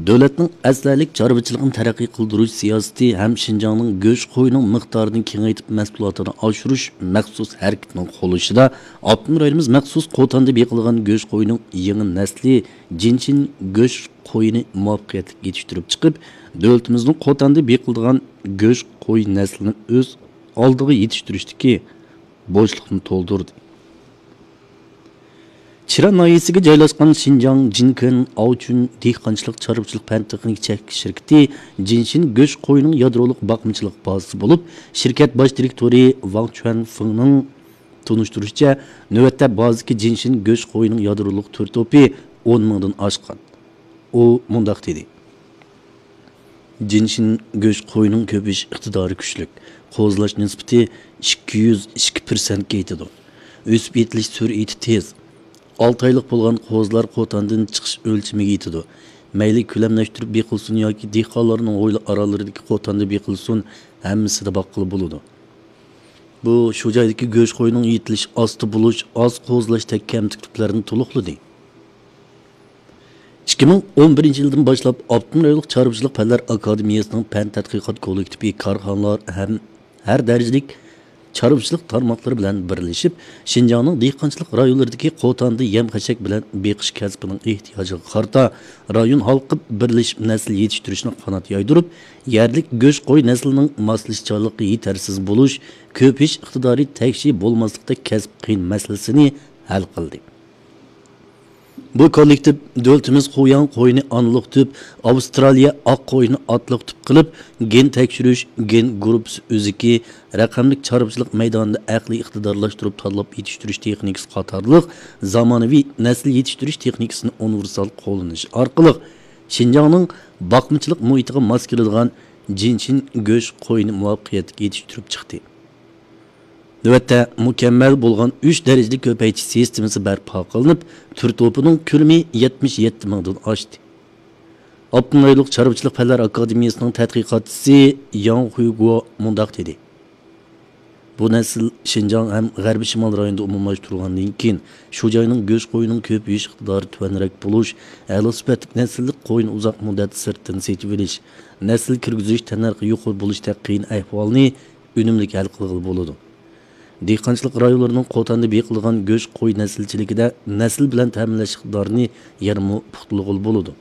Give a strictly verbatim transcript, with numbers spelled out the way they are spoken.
دۆلەتنىڭ ئەسلىھەلىك چارۋىچىلىقنى تەرەققىي قىلدۇرۇش سىياسىتى ھەم شىنجاڭنىڭ گۆش قويىنىڭ مىقدارىنى كېڭەيتىپ مەھسۇلاتىنى ئاشۇرۇش مەخسۇس ھەرىكىتىنىڭ قوللىشىدا ئاپتونوم رايونىمىز مەخسۇس قوتاندا بېقىلغان گۆش قويىنىڭ يېڭى نەسلى جىنشىن گۆش قويىنى مۇۋەپپەقىيەتلىك يېتىشتۈرۈپ چىقىپ، دۆلىتىمىزنىڭ قوتاندا بېقىلىدىغان گۆش قوي نەسلىنى ئۆز ئالدىغا يېتىشتۈرۈشتىكى بوشلۇقنى تولدۇردى. چىرا ناھىيەسىگە جايلاشقان شىنجاڭ جىنكېن ئاۋچۈن دېھقانچىلىق چارۋىچىلىق پەن تېخنىكا چەكلىك شىركىتى جىنشىن گۆش قويىنىڭ يادرولۇق باقمىچىلىق بازىسى بولۇپ، شىركەت باش دىرېكتورى ۋاڭ چۈەنفېڭنىڭ تونۇشتۇرۇشىچە، نۆۋەتتە بازىدىكى جىنشىن گۆش قويىنىڭ يادرولۇق تۈر توپى ئون مىڭدىن ئاشقان. ئۇ مۇنداق دېدى. جىنشىن گۆش قويىنىڭ كۆپىيىش ئىقتىدارى كۈچلۈك، قوزىلاش نىسبىتى ئىككى يۈز ئىككى پىرسەنتكە يېتىدۇ. ئۆسۈپ يېتىلىش سۈرئىتى تېز. ئالتە ئايلىق بولغان قوزىلار قوتاندىن چىقىش ئۆلچىمىگە يېتىدۇ. مەيلى كۆلەملەشتۈرۈپ بېقىلسۇن ياكى دېھقانلارنىڭ ھويلا ئارالىرىدىكى قوتاندا بېقىلسۇن، ھەممىسىدە باققىلى بولىدۇ. بۇ شۇ جايدىكى گۆش قويىنىڭ يېتىلىش ئاستا بولۇش، ئاز قوزىلاشتەك كەمتۈكلۈكلەرنى تولۇقلىدى. ئىككى مىڭ ئون بىرىنچى يىلدىن باشلاپ ئاپتونوم رايونلۇق چارۋىچىلىق پەنلەر ئاكادېمىيەسىنىڭ پەن تەتقىقات كوللېكتىپى كارخانىلار ھەم ھەر دەرىجىلىك چارۋىچىلىق تارماقلىرى بىلەن بىرلىشىپ، شىنجاڭنىڭ دېھقانچىلىق رايونلىرىدىكى قوتاندا يەم-خەشەك بىلەن بېقىش كەسپىنىڭ ئېھتىياجىغا قارىتا رايون ھالقىپ بىرلىشىپ نەسىل يېتىشتۈرۈشنى قانات يايدۇرۇپ، يەرلىك گۆش قوي نەسلىنىڭ ماسلىشىشچانلىقى يېتەرسىز بولۇش، كۆپىيىش ئىقتىدارى تەكشى بولماسلىقتەك كەسىپ قىيىن مەسىلىسىنى ھەل قىلدى. بۇ كوللېكتىپ دۆلىتىمىز خۇياڭ قويىنى ئانىلىق تۈپ، ئاۋسترالىيە ئاق قويىنى ئاتىلىق تۈپ قىلىپ، گېن تەكشۈرۈش، گېن گۇرۇپپىسى ئۆزىكى، رەقەملىك چارۋىچىلىق مەيدانىدا ئەقلىي ئىقتىدارلاشتۇرۇپ تاللاپ يېتىشتۈرۈش تېخنىكىسى قاتارلىق زامانىۋى نەسىل يېتىشتۈرۈش تېخنىكىسىنى ئۇنىۋېرسال قوللىنىش ئارقىلىق، شىنجاڭنىڭ باقمىچىلىق مۇھىتىغا ماس كېلىدىغان جىنشىن گۆش قويىنى مۇۋەپپەقىيەتلىك يېتىشتۈرۈپ چىقتى. نۆۋەتتە مۇكەممەل بولغان ئۈچ دەرىجىلىك كۆپەيتىش سىستېمىسى بەرپا قىلىنىپ، تۈر توپىنىڭ كۆلىمى يەتمىش يەتتە مىڭدىن ئاشتى. ئاپتونوم رايونلۇق چارۋىچىلىق پەنلەر ئاكادېمىيەسىنىڭ تەتقىقاتچىسى ياڭ خۇيگۇ مۇنداق دېدى. بۇ نەسىل شىنجاڭ ھەم غەربىي شىمال رايونىدا ئومۇملاشتۇرۇلغاندىن كېيىن، شۇ جاينىڭ گۆش قويىنىڭ كۆپىيىش ئىقتىدارى تۆۋەنرەك بولۇش، ئەلا سۈپەتلىك نەسىللىك قوينى ئۇزاق مۇددەت سىرتتىن سېتىۋېلىش، نەسىل كىرگۈزۈش تەننەرخى يۇقىرى بولۇشتەك قىيىن ئەھۋالنى ئۈنۈملۈك ھەل قىلغىلى بولىدۇ. دېھقانچىلىق رايونلىرىنىڭ قوتاندا بېقىلىدىغان گۆش قوي نەسىلچىلىكىدە نەسىل بىلەن تەمىنلەش ئىقتىدارىنى يەنىمۇ پۇختىلىغىلى بولىدۇ.